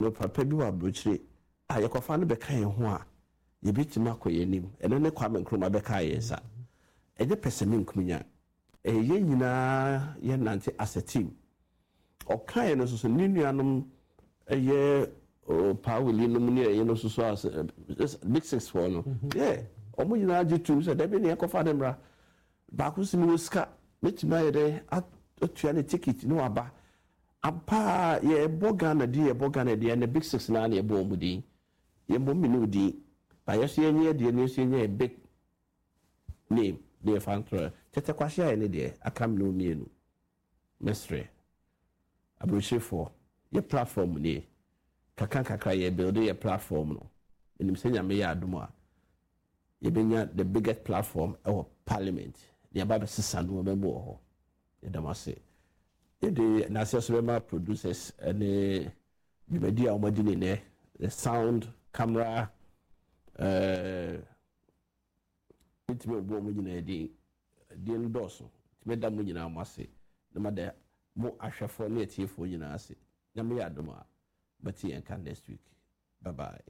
Mewɔ papa bi wɔ aburokyire a yɛkɔfa no bɛka yɛn ho a, yɛbɛtumi akɔ yɛn anim. Ɛno ne Kwame Nkrumah bɛkaa yɛn nsa. Ɛnyɛ pɛsɛmenkominya. Ɛyɛ yɛn nyinaa yɛnante as a team. Ɔkaeɛ no nso so, ne nuanom ɛyɛ Paa Willie nom ne ɛyɛ no nso so as Big Six foɔ no, yeah, wɔn nyinaa gye tom sɛ dabi ne yɛnkɔfa no mmra. Baako nso mewɔ sika, mɛtumi ayɛ dɛn atua ne ticket ne waba. Ampa ara yɛbɔ Ghana din yɛbɔ Ghana din ɛnɛ Big Six no ara na yɛbɔ wɔn din. Yɛmmɔ me ne wo din. But yɛn nso yɛnyɛ yɛn deɛ na yɛn nso yɛnyɛ yɛn big name na yɛfa ntorɔ. Tɛtɛ Kwahye ayɛ ne deɛ aka me ne wo mmienu. Mɛsrɛ aburokyerefoɔ yɛ platform nie. Kakra nkakra yɛ build yɛ platform no. Menim sɛ Nyame yɛ adom a yɛbɛnya the biggest platform ɛwɔ parliament na yɛaba abɛsesa nnoɔma mu wɔ hɔ. Yɛda mo ase. Yɛde n'aseɛ so bɛma producers ne dwumadi a wɔadi ne nɛ, the sound, camera, eh, mentumi mbɔ wɔn nyinaa din, din no dɔɔso, nti mɛda mo nyinaa mo ase na mada mo ahwɛfoɔ ne atiefoɔ nyinaa ase. Nyame yɛ adom a, mɛte yɛn nka next week. Bye bye.